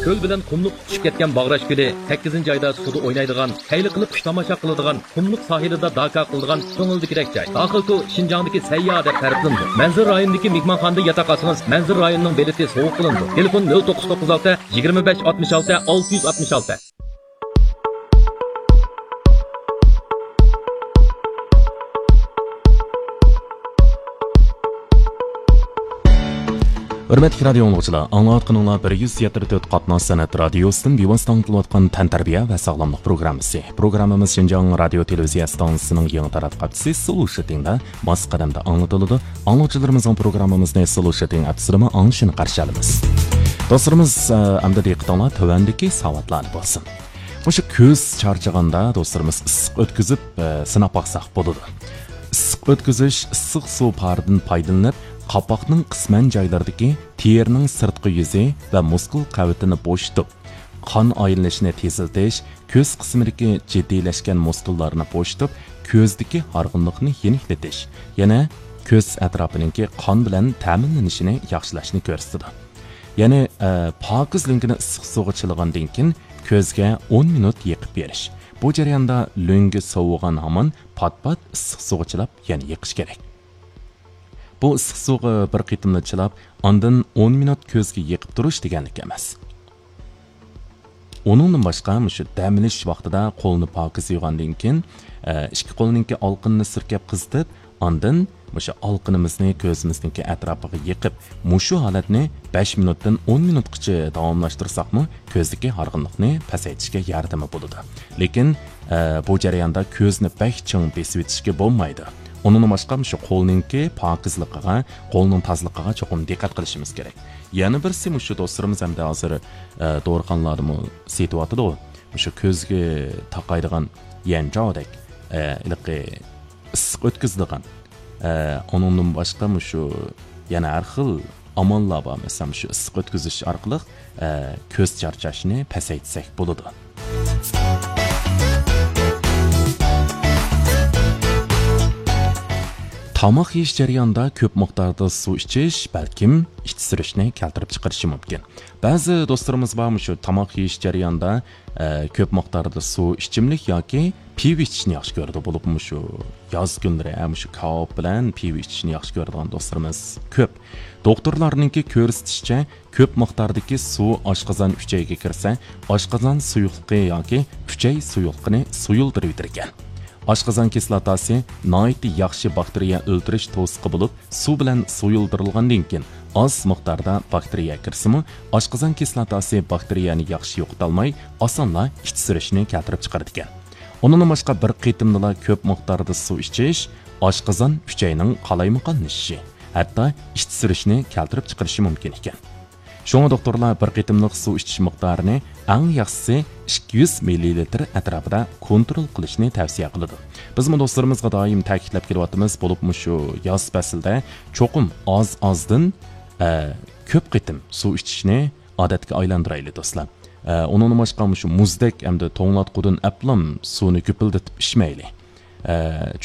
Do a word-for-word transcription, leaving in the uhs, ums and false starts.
كۆل بىلەن قۇملۇق تۇتىشىپ كەتكەن باغراش كۆلى، سەككىزىنچى ئايدا سۇدا ئوينايدىغان، خەيلى قىلىپ قۇش تاماشا قىلىدىغان، قۇملۇق ساھىلىدا داكا قىلىدىغان كۆڭۈلدىكىدەك جاي. داخىلكو شىنجاڭدىكى سەيياھ دەپ تەرىپلىنىدۇ. مەنزىرە رايونىدىكى مېھمانخانىدا ياتاق ئالسىڭىز، مەنزىرە رايونىنىڭ بېلىتى سوۋغا قىلىنىدۇ. تېلېفون: نۆل توققۇز توققۇز ئالتە، يىگىرمە بەش، ئاتمىش ئالتە، ئالتە يۈز ئاتمىش ئالتە. ھۆرمەتلىك رادىيو ئاڭلىغۇچىلار، ئاڭلاۋاتقىنىڭلار بىر يۈز يەتتە تۆت قاتناش سەنئەت رادىيوسىدىن بىۋاسىتە ئاڭلىتىلىۋاتقان تەنتەربىيە ۋە ساغلاملىق پروگراممىسى. پروگراممىمىز شىنجاڭ رادىيو تېلېۋىزىيە ئىستانسىسىنىڭ يېڭى تاراتقۇ ھەپتىسى سلوشىتىڭدا ماس قەدەمدە ئاڭلىتىلىدۇ. ئاڭلىغۇچىلىرىمىزنىڭ پروگراممىمىزنى سلوشىتىڭ ئەپسىدىمۇ ئاڭلىشىنى قارشى ئالىمىز. دوستلىرىمىز، ئە، ئەمدى دىققىتىڭلار تۆۋەندىكى ساۋاتلاردا بولسۇن. مۇشۇ كۆز چارچىغاندا دوستلىرىمىز ئىسسىق ئۆتكۈزۈپ، ئە، سىناپ باقساق بولىدۇ. ئىسسىق ئۆتكۈزۈش ئىسسىق سۇ پارىدىن پايدىلىنىپ، قاپاقنىڭ قىسمەن جايلىرىدىكى تېرىنىڭ سىرتقى يۈزى ۋە مۇسكۇل قەۋىتىنى بوشىتىپ، قان ئايلىنىشىنى تېزلىتىش، كۆز قىسمىدىكى جىددىيلەشكەن مۇسكۇللارنى بوشىتىپ، كۆزدىكى ھارغىنلىقنى يېنىكلىتىش، يەنە كۆز ئەتراپىنىڭكى قان بىلەن تەمىنلىنىشىنى ياخشىلاشنى كۆرسىتىدۇ. يەنى، ئە، پاكىز لۆڭگىنى ئىسسىق سۇغا چىلىغاندىن كېيىن كۆزگە ئون مىنۇت يېقىپ بېرىش. بۇ جەرياندا لۆڭگە سوۋۇغان ھامان پات-پات ئىسسىق سۇغا چىلاپ يەنە يېقىش كېرەك. بۇ ئىسسىق سۇغا بىر قېتىملا چىلاپ، ئاندىن ئون مىنۇت كۆزگە يېقىپ تۇرۇش دېگەنلىك ئەمەس. ئۇنىڭدىن باشقا، مۇشۇ دەم ئېلىش ۋاقتىدا قولنى پاكىز يۇغاندىن كېيىن، ئە، ئىككى قولنىڭكى ئالقىنىنى سۈركەپ قىزىتىپ، ئاندىن مۇشۇ ئالقىنىمىزنى كۆزىمىزنىڭكى ئەتراپىغا يېقىپ، مۇشۇ ھالەتنى بەش مىنۇتتىن ئون مىنۇتقىچە داۋاملاشتۇرساقمۇ، كۆزدىكى ھارغىنلىقنى پەسەيتىشكە ياردىمى بولىدۇ. لېكىن، ئە، بۇ جەرياندا كۆزنى بەك چىڭ بېسىۋېتىشكە بولمايدۇ. ئۇنىڭدىن باشقا مۇشۇ قولنىڭكى پاكىزلىقىغا، قولنىڭ تازىلىقىغا چوقۇم دىققەت قىلىشىمىز كېرەك. يەنە بىرسى مۇشۇ دوستلىرىمىز ئەمدى ھازىر، ئە، دورىخانىلاردىمۇ سېتىۋاتىدۇ. مۇشۇ كۆزگە تاقايدىغان يەنچاۋدەك، ئە، ھېلىقى ئىسسىق ئۆتكۈزىدىغان، ئە، ئۇنىڭدىن باشقا مۇشۇ يەنە ھەر خىل ئاماللار بار. مەسىلەن، مۇشۇ ئىسسىق ئۆتكۈزۈش ئارقىلىق، ئە، كۆز چارچاشنى پەسەيتسەك بولىدۇ. تاماق يېيىش جەريانىدا كۆپ مىقداردا سۇ ئىچىش بەلكىم ئىچ سۈرۈشنى كەلتۈرۈپ چىقىرىشى مۇمكىن. بەزى دوستلىرىمىز بار، مۇشۇ تاماق يېيىش جەريانىدا، ئە، كۆپ مىقداردا سۇ ئىچىملىك ياكى پىۋا ئىچىشنى ياخشى كۆرىدۇ. بولۇپمۇ مۇشۇ ياز كۈنلىرى، ئە، مۇشۇ كاۋاپ بىلەن پىۋا ئىچىشنى ياخشى كۆرىدىغان دوستلىرىمىز كۆپ. دوختۇرلارنىڭكى كۆرسىتىشىچە، كۆپ مىقداردىكى سۇ ئاشقازان ئۈچەيگە كىرسە، ئاشقازان سۇيۇقلۇقى ياكى ئۈچەي سۇيۇقلۇقىنى سۇيۇلدۇرۇۋېتىدىكەن. ئاشقازان كىسلاتاسى ناھايىتى ياخشى باكتېرىيە ئۆلتۈرۈش توسۇقى بولۇپ، سۇ بىلەن سۇيۇلدۇرۇلغاندىن كېيىن ئاز مىقداردا باكتېرىيە كىرسىمۇ، ئاشقازان كىسلاتاسى باكتېرىيەنى ياخشى يوقىتالماي، ئاسانلا ئىچ سۈرۈشنى كەلتۈرۈپ چىقىرىدىكەن. ئۇنىڭدىن باشقا، بىر قېتىمدىلا كۆپ مىقداردا سۇ ئىچىش ئاشقازان ئۈچەينىڭ قالايمىقانلىشىشى، ھەتتا ئىچ سۈرۈشنى كەلتۈرۈپ چىقىرىشى مۇمكىن ئىكەن. شۇڭا دوختۇرلار بىر قېتىملىق سۇ ئىچىش مىقدارىنى ئەڭ ياخشىسى ئىككى يۈز مىللىلىتىر ئەتراپىدا كونترول قىلىشنى تەۋسىيە قىلىدۇ. بىزمۇ دوستلىرىمىزغا دائىم تەكىتلەپ كېلىۋاتىمىز، بولۇپمۇ شۇ ياز پەسلىدە چوقۇم ئاز-ئازدىن، ئە، كۆپ قېتىم سۇ ئىچىشنى ئادەتكە ئايلاندۇرايلى دوستلار. ئە، ئۇنىڭدىن باشقا مۇشۇ مۇزدەك ئەمدى توڭلاتقۇدىن ئەپلام سۇنى گۈپۈلدىتىپ ئىچمەيلى. ئە،